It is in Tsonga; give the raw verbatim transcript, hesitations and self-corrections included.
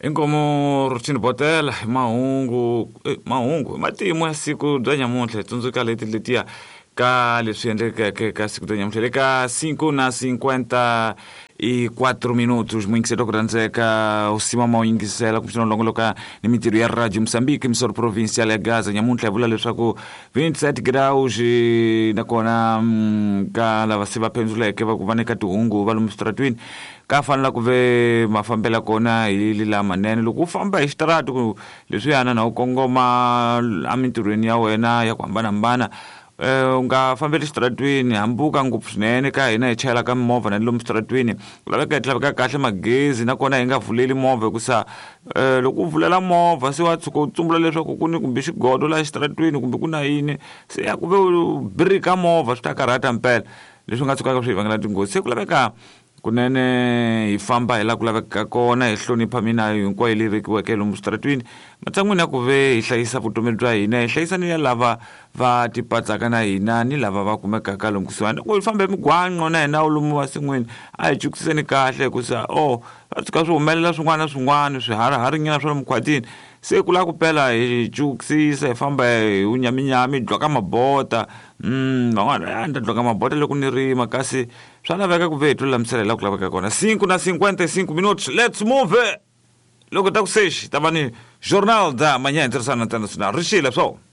Inkomu Rutshini Botela hi mahungu eh, mahungu hi matimu ya siku bya nyamuntlha hi tsundzuka leti letiya ka leswi endlekeke ka siku bya nyamuntlha le ka cinco na cinquenta e quatro minutos muyingiselo ku rhandzeka u sima ma u yingisela kumbexana u longoloka ni mintirho ya Radio Moçambique emissora provincial ya Gaza nyamuntlha hi vula leswaku vinti-sete graus eh, nakona mm, ka lava se va pendzuleke va ku va nyika tihungu va lomu switaratwini ka fanela ku ve mafambela kona hi lamanene loko u famba hi xitarati ku leswiyana na u kongoma emintirhweni ya wena ya ku hambanahambana eh u nga fambeli xitaratwini hambuka ngopfu swinene ka hina hi chayelaka mimovha na lomu xitaratwini ku laveka hi laveka kahle magezi nakona hi nga vuleli movha hikusa um loko u vulela movha se wa tshuka u tsumbula leswaku ku ni kumbe xigodo laha xitaratwini kumbe ku na yini se ya ku ve u birika movha swi ta karhata mpela leswi nga tshukaka swi hi vangela tinghozi se ku laveka kunene hi famba hi laha ku lavekaka kona hi hlonipha minayo hinkwayo leyi vekiweke lomu switaratwini matshan'wini ya ku ve hi hlayisa vutomi bya hina hi hlayisa ni ya lava va tipatsaka na hina ni lava va kumekaka lomu kusuhani loko hi famba hi migwaqo na hina lomu masin'wini a hi chukiseni kahle hikusa o va tshuka swi humelela swin'wana na swin'wana swihariharinyana swa lomu khwatini se ku lava ku pela hi chukisisa hi famba hi vunyaminyami hi dloka mabota mm van'wana a ni ta dloka mabota loko ni rima kasi swa laveka ku ve hi tilulamisela hi laha ku laveka kona cinco na cinquenta e cinco minutos let's move loko ta ku sexi ta va ni Jornal da Manhã Internacional Internacional rixile swo.